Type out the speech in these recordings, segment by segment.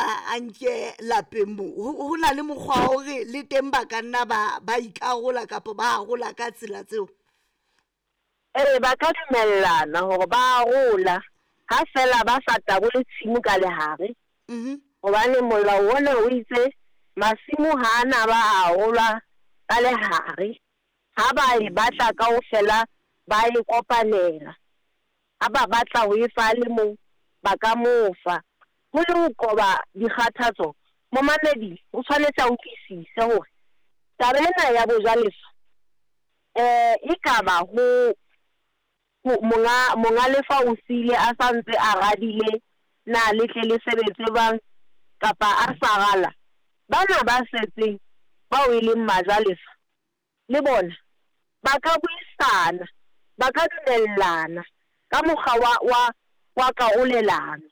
a nke lapeng mo. Ho na le mokgwa wa hore le teng ba ka nna ba ikarola kapa ba arola ka tsela tseo. Ee, ba ka dumellana hore ba arola ha feela ba sa tabole tshimo ka lehare. Hobane molao ona o itse masimo ha a na ba arolwa ka lehare. Ha ba e batla kaofela ba e kopanela. Ha ba batla ho e fa a le mong, ba ka mo fa. Ho le ho qoba dikgathatso, momamedi o tshwanetse a utlwisise hore taba ena ya bojalefa e ka ba ho monga lefa o siile a sa ntse a radile na le tle le sebetse jwang kapa a sa rala. Bana ba setseng bao e leng majalefa le bona ba ka buisana, ba ka dumellana ka mokgwa wa karolelano.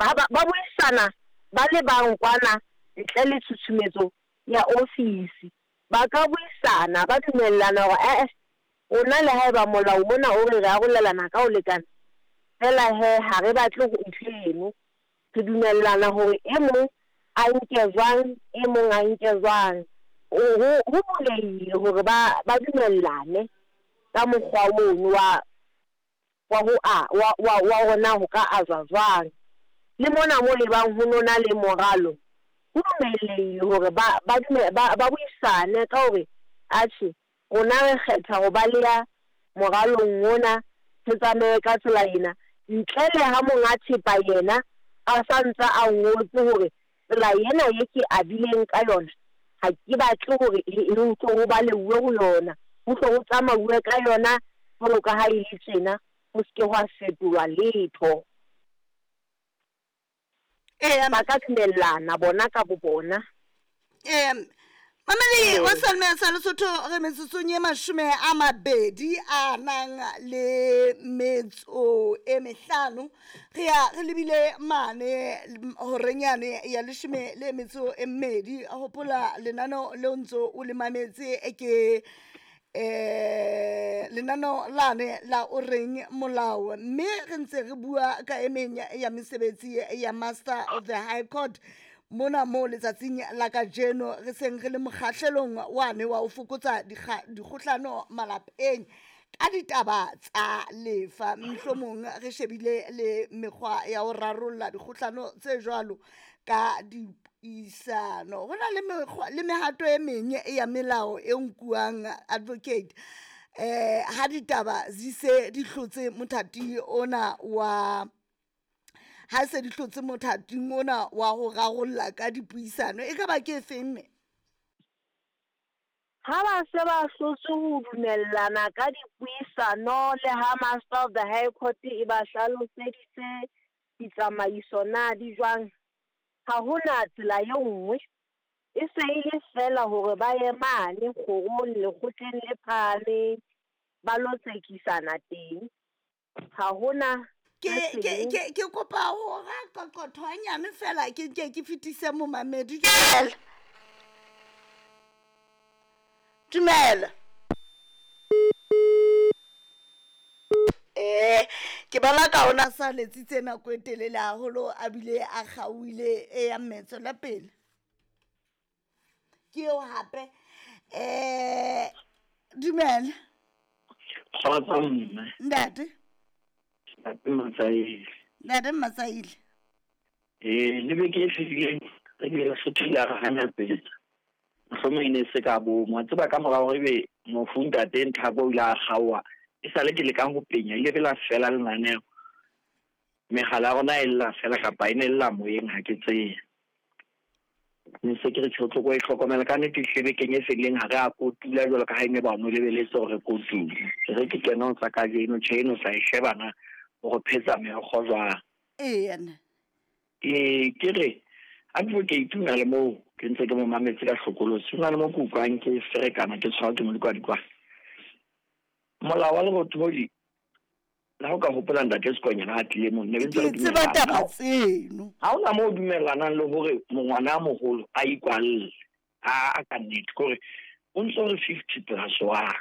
Ba buisana ba le bang kwana ntle le tshutshumetso ya ofisi. Ba ka buisana, ba dumellana hore ee, rona le haeba molao mona o re re arolelana ka ho lekana, feela he ha re batle ho ntho eno. Re dumellana hore e mong a nke jwang, e mong a nke jwang. Ho bulehile hore ba dumellane ka mokgwa ono wa wa hore na ho ka ajwa jwang. Le mona mo lebang ho nona le moralo, ho dumellehile hore ba buisane ka hore atjhe rona re kgetha ho ba le ya moralong ona, re tsamaye ka tsela ena. Ntle le ha monga thepa yena a sa ntse a ngotse hore tsela ena e ke abileng ka yona ha ke batle hore e tlo ho baleuwe ho yona, ho tlo ho tsamauwe ka yona jwalo ka ha e le tjena, ho se ke hwa fetolwa letho. Ba ka dumellana bona ka bo bona. Mamedi wa Salme sa Lesotho, re metsotsong e 20 a nang le metso e 5, re ya re lebile mane horeng yane ya 12. Hopola lenaneo leo ntso o le mametse ke lenaneo lane la o reng molao, mme re ntse re bua ka e meng ya mesebetsi ya Master of the High Court mona mo letsatsing la kajeno. Re seng re le mokgahlelong wane wa ho fokotsa dikgohlano malapeng ka ditaba tsa lefa. Mohlomong re shebile le mekgwa ya ho rarolla dikgohlano tse jwalo ka dipuisano. Ho na le mekgwa le mehato e meng ya melao e nkuwang, advocate, ha ditaba di se di hlotse mothati ona wa ha se di hlotse mothating ona wa ho rarolla ka dipuisano, e ka ba ke efeng mme? Ha ba se ba hlotse ho dumellana ka dipuisano le ha Master of the High Court e ba hlaloseditse ditsamaiso na di jwang, ha hona tsela e nngwe, e se e le feela hore ba ye mane kgorong lekgotleng le phahameng ba lo tsekisana teng. Ha hona Ke kopa ho ra qoqotho hanyane fela, ke nke ke fetise momamedi. Dumela. Dumela. Ke bala ka ona sa letsitse nako e telele haholo, a bile a kgaohile e ya mmetso la pele. Ke eo hape. Dumela. Kgotso mme. Ntate. Ntate Matsaile. Ntate Matsaile. Le beke e fetileng re bile re sothile re hanya pele. Mohlomong e ne se ka bomo. Wa tseba ka mora hore ebe mofu ntate Nthako o ile a kgaoha, e sale ke leka ho penya, ile be la fela lenaneo. Megala ya rona e lla fela kapa e ne lla moyeng, ha ke tsebe. Ne se ke re tjho tloko e hlokomela ka nnete hle bekeng e fetileng ha re a kotula jwalo ka ha e ne ba no lebeletse hore re kotule. Re ke kena ho tsa kajeno, tjhe eno sa e shebana hore phetsa meokgo jwang. Eya nna. Ke re advocate o na le moo ke ntse ke mo mametse ka hlokolosi, ho na le mo ke utlwang ke ferekana ke tshwarwa ke modikwadikwane. Molao wa Lerothodi, le ha o ka hopola ntate Sekonyana a tlile moo, ne re ntse re Ke tseba dumellana. taba tseno. Ha hona moo o dumellanang le hore mongwana a moholo a ikwalle. A ka nnete, ke hore o ntso re 50+1.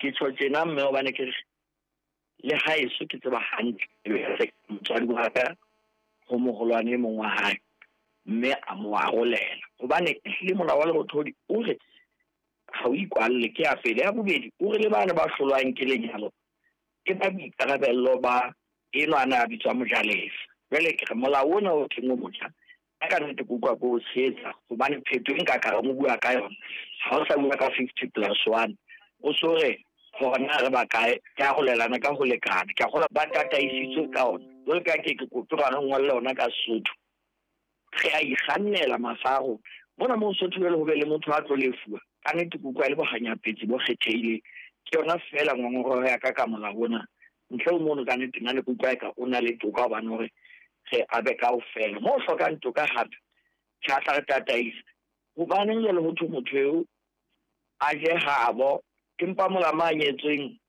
Ke tjho tjena mme hobane ke re le haeso ke tseba hantle motswadi wa ka ho moholwane e mong wa hae. mme a mo arolela. Hobane ehlile molao wa Lerothodi o re ha o ikwalle, ke ya pele. Ya bobedi, o re le bane ba hlolwang ke lenyalo ke ba boikarabello ba enwa a ne a bitswa mojalefa. Jwale ke re molao ona o teng o motjha, nna ka nnete ke utlwa ke o tshehetsa hobane phetho e nka ka reng o bua ka yona, ha o sa bua ka 50 plus one, o so re hore na re bakae, re arolelana ka ho lekana. Ke a kgolwa ba tataisitswe ka ona. Jwale ka ke ke kope hore re ngolle ona ka Sesotho. Re a ikgannela mafa a rona. Mona moo Sotho jwale ho be le motho a tlo lefuwa, ka nnete ke utlwa e le bohanyapetsi bo kgethehileng. Ke yona feela ngongoreho ya ka ka molao ona. Ntle ho mono ka nnete nna ne ke utlwa eka o na le toka hobane hore re abe kaofela. Moo ho hlokang toka hape, tjhe a tla re tataisa. Hobaneng jwale ho thwe motho eo a je habo, empa molamo a nyetsweng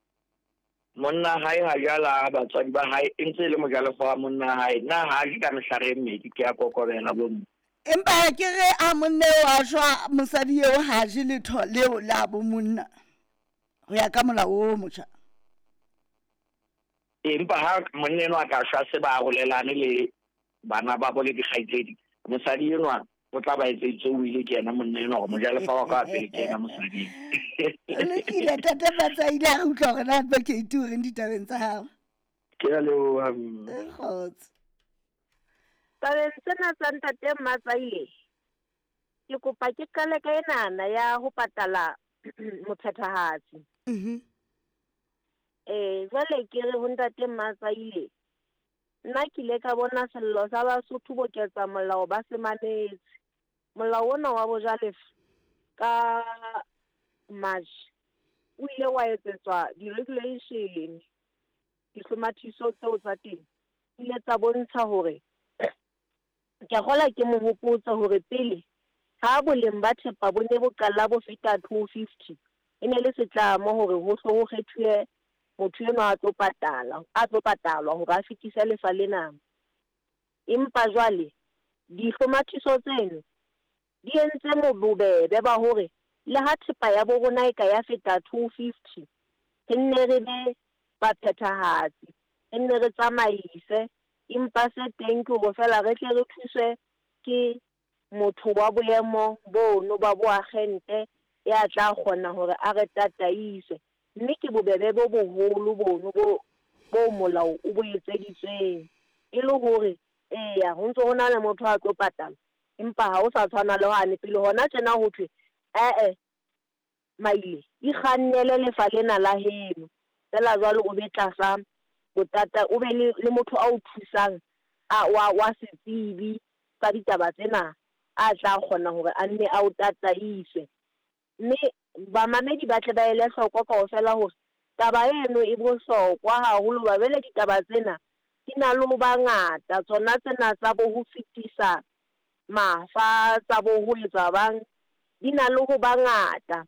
monna hae ha jala batswadi ba hae e ntse e le mojalefa wa monna hae, na ha a je ka mehlare e mmedi? Ke a kokobela bomme. Empa ke re a monna eo a shwa, mosadi eo ha a je letho leo la bo monna ho ya ka molao o motjha. Empa ha monna enwa a ka shwa se ba arolelane le bana babo le dikgaitsedi, mosadi enwa o tla ba etseditse o ile ke yena monna enwa gore mojalefa wa ka wa pele ke yena mosadi. O lokile tate Matsaile, a re utlwa gore na advocate o reng ditabeng tsa gago. Ke a leboha mme. Kgotso. Tabeng tsena tsa ntate Matsaile, ke kopa ke qale ka enana ya ho patala mophethahatsi. Eh, jwale ke re ho ntate Matsaile, nna ke ile ka bona sello sa Basotho boketsa molao ba se mametse. Molao ona wa bojalefa ka March o ile wa etsetswa di-regulation, dihlomathiso tseo tsa teng di ile tsa bontsha hore ke a kgola ke mo hopotse hore pele ha boleng ba thepa bo ne bo qala bo feta 250 e ne le setlamo hore ho hlo ho kgethuwe motho enwa a tlo patala, a tlo patalwa hore a fetise lefa lena. Empa jwale dihlomathiso tseno di entse bobebe ba hore le ha thepa ya bo rona e ka ya feta 250, re nne re be baphethahatsi, re nne re tsamaise. Empa se teng ke hore feela re tle re thuswe ke motho wa boemo bono ba boagente ya tla kgona hore a re tataise. Mme ke bobebe bo boholo bono bo boo molao o bo etseditsweng. E le hore eya ho ntse ho na le motho a tlo patala, empa ha ho sa tshwana le hwane pele. Hona tjena ho thwe ee Maile, ikgannele lefa lena la heno feela jwale o be tlasa botata, o be le, le motho a o thusang a wa, wa setsebi sa ditaba tsena a tla kgona hore a nne a o tataise. Mme bamamedi ba tle ba ele hloko kaofela hore taba eno e bohlokwa haholo hoba jwale ditaba tsena di na le ho ba ngata. Tsona tsena tsa bo ho fetisa mafa, tsa bo ho etsa bang, di na le ho ba ngata.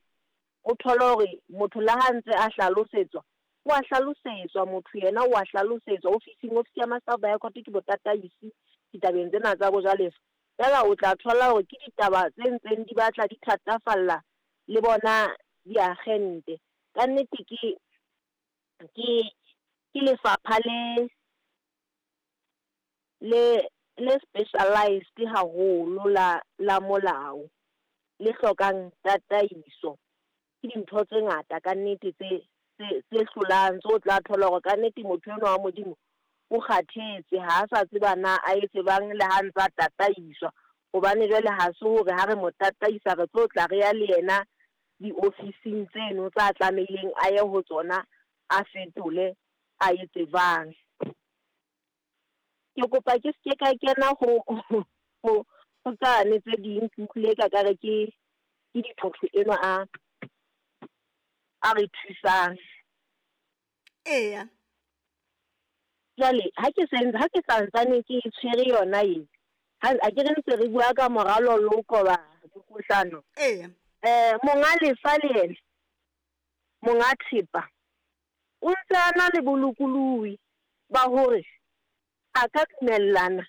O thole hore motho le ha ntse a hlalosetswa, o a hlalosetswa motho yena o a hlalosetswa ofising, ofisi ya Master of the High Court ke botataisi ditabeng tsena tsa bojalefa. Feela o tla thola hore ke ditaba tse ntseng di batla di thatafalla le bona diagente. Ka nnete ke ke ke lefapha le le le specialized haholo la la molao, le hlokang tataiso. Ke dintho tse ngata ka nnete tse tse tse hlolang, tse o tla thola hore ka nnete motho enwa wa Modimo o kgathetse, ha a sa tseba na a etse bang le ha ntsa tataiswa. Hobane jwale ha se hore ha re mo tataisa re tlo tla re ya le yena diofising tseno tsa tlamehileng a ye ho tsona, a fetole a etse jwang. Ke kopa ke se ke ka kena ho ho ho tsane tse ding, ke utlwile eka kare ke ke dithotho enwa a a re thusang. Eya. Jwale ha ke se ha ke santsane ke e tshwere yona e, ha a ke re ntse re bua ka moralo le ho qoba dikgohlano. Eya. Monga lefa le yena, monga thepa, o ntse a na le bolokolohi ba hore a ka dumellana